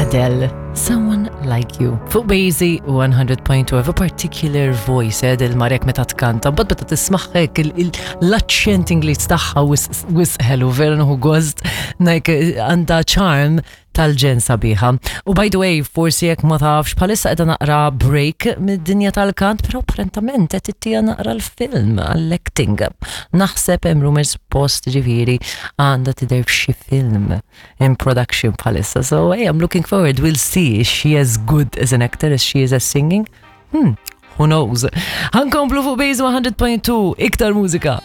Adele, Someone Like You. Fuq Bazy 100.2 have a particular voice, eh, Adele marek meta tkanta, bad meta tismaħħek l-accent Ingliż tagħha wisħelu vera nħu gost, like għandha charm tal-ġen sabiħa. U by the way, forsi jekk ma tafx, bħalissa qiegħda naqra break mid-dinja tal-kant, però apparentament qed ittija naqra l-film għall-acting. Naħseb hemm rumors post ġifieri għandha tidher f'xi film in production bħalissa. So hey, I'm looking forward. We'll see is she as good as an actor as she is as singing. Hmm, who knows? Ħankomplu fuq Base 100.2 iktar mużika.